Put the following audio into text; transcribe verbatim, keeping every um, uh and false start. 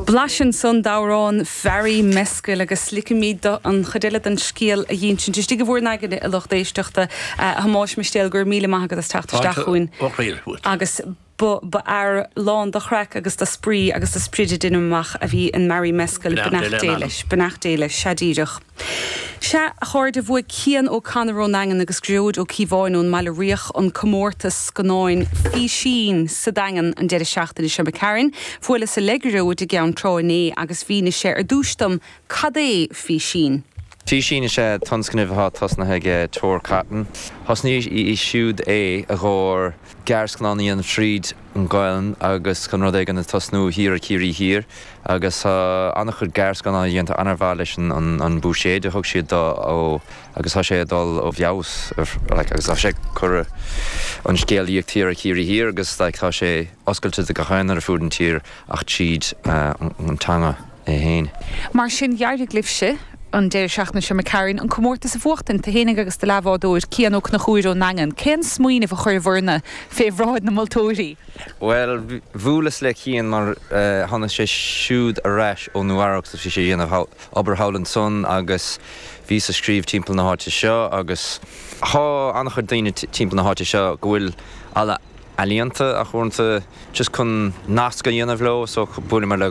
Blaiseadh ansan d'amhrán Bharry Mescal agus ligfimid an chuid eile den scéal a dh'insint. Istigh i bhur n-aigne a lucht éisteachta a Thomáis Mistéil gur míle maith agat as teacht isteach chugainn. Agus ba fhear lán de chraic agus de spraoi agus de sprid dinimach a bhí in Mary Mescal beannacht Dé leis, beannacht Dé leis sea díreach. Sea a chairde bhuaigh Cian O'Connor ón Daingean agus Gearóid Ó Cíobháin ón mBaile Riach an comórtas scannáin Físín sa Daingean an deireadh seachtaine seo Karen, Bhuaileas le Gearóid i gCeann Trá inné agus mhínigh sé ar dtús dom cad é Físín. Físín is ea tionscnamh atá tosnaithe ag Tor Cotton. Thosnaigh í siúd é a chur gearrscannáin an tríd an Ghaelainn agus chun rud éigin a tosnú thiar i Ciarraí Thiar agus an-chuid gearrscannáin déanta an-mhaith leis an buiséad a thug siad dó ó agus tá sé dul ó bheas agus tá sé chun an scéalaíocht thiar i Ciarraí Thiar agus like, tá sé oscailte do gach éinne ar fud an tír ach tríd an teanga é féin. Mar sin d'éirigh libhse an deireadh seachtaine seo Karen an comórtas a bhuachtaint tú fhéinig agus do leathbhádóir Cian Ó Conchúir ón nDaingean. Cén smaoineamh a chuir bhur fé bhráid na moltóirí? Well bhuaileas le Cian mar uh, tháinig sé siúd ar ais ó Nua-Eabhrac bhí sé dhéanamh obair thall ansan agus bhí ag scríobh timpeall na háite seo agus tá an-chuid daoine timpeall na háite seo go bhfuil alle ealaíonta a chuanta just chun nasc a dhéanamh leo so bhuaileamar le